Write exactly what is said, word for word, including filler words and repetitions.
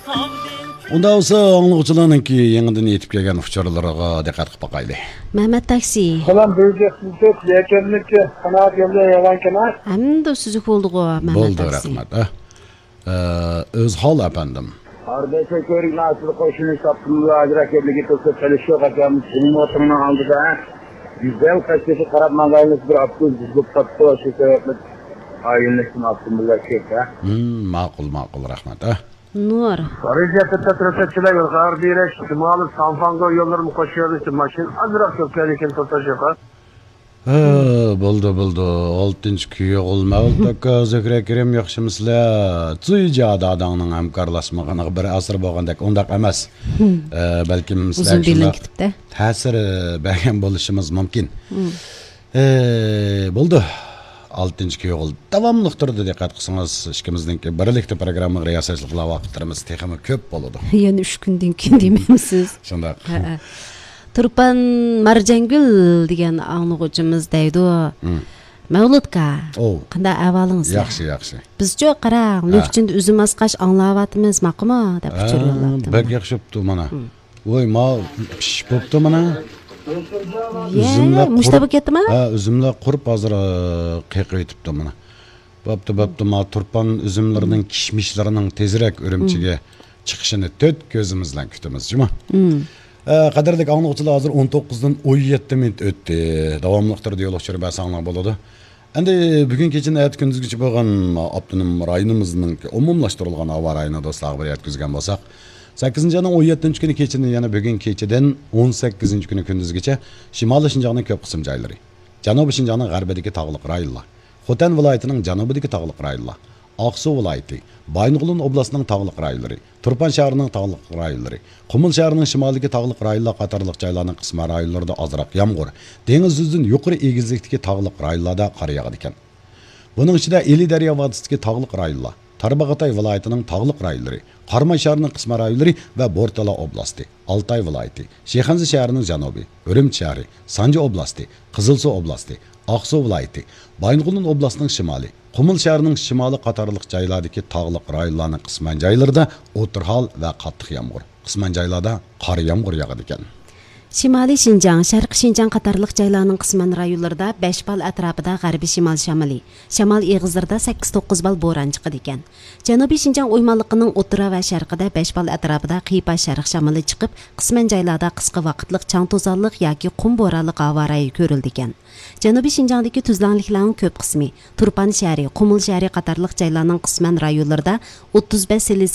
ئۇنداق بولسا، ئاڭلىغۇچىلارنىڭكى يېڭىدىن يېتىپ كەلگەن ئۇچۇرلىرىغا دىققەت قىلىپ باقايلى. مەمەت تاكسى. سالام، بىر يۈز يەتمىش تۆت، يەكەنلىك قانائەت يولى يالانكەنا. ئەمدى سۈزۈك بولدىغۇ، مەمەت بولدى، تاكسى. رەھمەت. ئە، ئۆز ھال ئەپەندىم. ھاردەيسە كۆرۈك ناسىل قوشۇنى ساپتىمىزغا ئاجراق يەرلىكى تۇرسا چېلىشىش يوق ئاكام. سېنىڭ ئوتۇڭنىڭ ئالدىدا گۈزەل قەشقىسى قاراپ ماڭغايلىق بىر ئاپتوبۇس بۇزۇلۇپ قاپتۇ. شۇ سەۋەبلىك ئايلىنىشتىن ئاپتوموبىللار كۆپ، ھە؟ مم، ماقۇل، ماقۇل، رەھمەت، ھە. نۇر. رىزىيەتتە تەتۈرەتەتچىلەر يولغا بېرىش، شىمالىي سانفاڭگو يوللىرىمۇ قوشۇۋېرىش، ماشىنا ئازراق كۆپ كەلگەن تۇرسا شۇ. ھە، بولدى، بولدى. ئالتىنچى كۈيئوغۇل مەۋلۇت ئاكا، زۆھرە كېرىم، ياخشىمۇسىلەر؟ جۇيجا داداڭنىڭ ھەمكارلاشمىغىنىغا بىر ئەسىر بولغاندەك، ئۇنداق ئەمەس. ئە، بەلكىم سىلەر ئۇزۇن بىلىن شۇنداق كېتىپتە. تەسىر بەرگەن بولۇشىمىز مۇمكىن. ئە، بولدى. ئالتىنچى كۈيئوغۇل داۋاملىق تۇرىدۇ، دىققەت قىلسىڭىز، ئىككىمىزنىڭكى بىرلىكتە پروگراممىغا رىياسەتچىلىك قىلغان ۋاقىتلىرىمىز تېخىمۇ كۆپ بولىدۇ. يەنە ئۈچ كۈندىن كېيىن دېمەمسىز؟ شۇنداق. ھەئە. تۇرپان مارجانگۈل دېگەن ئاڭلىغۇچىمىز دەيدۇ. مم. مەۋلۇتكا، ئوۋ. قانداق ئەھۋالىڭىزلار؟ ياخشى، ياخشى. بىزچۇ قاراڭ، ھە. لۆكچىندە ئۈزۈم ئاسقاچ ئاڭلاۋاتىمىز، ماقۇلمۇ؟ دەپ ئۇچۇر ھە، يوللاپتۇ بەك مانا. ياخشى بوپتۇ مانا. مم. ۋوي، ما پىشىپ بوپتۇ مانا. يە، ئۈزۈملەر مۇشتا قۇرۇپ، بولۇپ كەتتىما؟ ھە، ئۈزۈملەر قۇرۇپ ھازىر، ئە، قېقىۋېتىپتۇ مانا. بوپتۇ، بوپتۇ، ما تۇرپان ئۈزۈملىرىنىڭ كىشمىشلىرىنىڭ تېزرەك ئۈرۈمچىگە چىقىشىنى تۆت كۆزىمىز بىلەن كۈتىمىز، جۇمۇ. مم. ئە، قەدىرلىك ئاڭلىغۇچىلار، ھازىر ئون توققۇزدىن ئون يەتتە مىنۇت ئۆتتى. داۋاملىق تۇرىدۇ، يول ئۇچۇرى بەرسەڭلار بولىدۇ. ئەمدى بۈگۈن كېچىدىن ئەتە كۈندۈزگىچە بولغان ئاپتونوم رايونىمىزنىڭ ئومۇملاشتۇرۇلغان ھاۋا رايىنى دوستلارغا بىر يەتكۈزگەن بولساق، سەككىزىنچى ئاينىڭ ئون يەتتىنچى كۈنى كېچىدىن، يەنى بۈگۈن كېچىدىن ئون سەككىزىنچى كۈنى كۈندۈزگىچە شىمالىي شىنجاڭنىڭ كۆپ قىسىم جايلىرى، جەنۇبىي شىنجاڭنىڭ غەربىدىكى تاغلىق رايونلار، خوتەن ۋىلايىتىنىڭ جەنۇبىدىكى تاغلىق رايونلار، ئاقسۇ ۋىلايىتى، بايىنغولىن ئوبلاستىنىڭ تاغلىق رايونلىرى، تۇرپان شەھىرىنىڭ تاغلىق رايونلىرى، قۇمۇل شەھىرىنىڭ شىمالىدىكى تاغلىق رايونلار قاتارلىق جايلارنىڭ قىسمەن رايونلىرىدا ئازراق يامغۇر، دېڭىز يۈزىدىن يۇقىرى ئېگىزلىكتىكى تاغلىق رايونلاردا قار ياغىدىكەن. بۇنىڭ ئىچىدە ئىلى دەريا ۋادىسىدىكى تاغلىق رايونلار، تارباغاتاي ۋىلايىتىنىڭ تاغلىق رايونلىرى، قاراماي شەھىرىنىڭ قىسمەن رايونلىرى ۋە بورتالا ئوبلاستى، ئالتاي ۋىلايىتى، شىخەنزە شەھىرىنىڭ جەنۇبى، ئۈرۈمچى شەھىرى، سانجى ئوبلاستى، قىزىلسۇ ئوبلاستى، ئاقسۇ ۋىلايىتى، بايىنغولىن ئوبلاستىنىڭ شىمالى، قۇمۇل شەھىرىنىڭ شىمالى قاتارلىق جايلاردىكى تاغلىق رايونلارنىڭ قىسمەن جايلىرىدا ئوتتۇرا ھال ۋە قاتتىق يامغۇر، قىسمەن جايلاردا قار يامغۇر ياغىدىكەن. شىمالىي شىنجاڭ، شەرقىي شىنجاڭ قاتارلىق جايلارنىڭ قىسمەن رايونلىرىدا بەش بال ئەتراپىدا غەربىي شىمال شامىلى، شامال ئېغىزلىرىدا سەككىز توققۇز بال بوران چىقىدىكەن. جەنۇبىي شىنجاڭ ئويمانلىقىنىڭ ئوتتۇرا ۋە شەرقىدە بەش بال ئەتراپىدا قىيپاش شەرق شامىلى چىقىپ، قىسمەن جايلاردا قىسقا ۋاقىتلىق چاڭ توزانلىق ياكى قۇم بورانلىق ھاۋا رايى كۆرۈلىدىكەن. جەنۇبىي شىنجاڭدىكى تۈزلەڭلىكلەرنىڭ كۆپ قىسمى، تۇرپان شەھىرى، قۇمۇل شەھىرى قاتارلىق جايلارنىڭ قىسمەن رايونلىرىدا ئوتتۇز بەش سېلسىيەس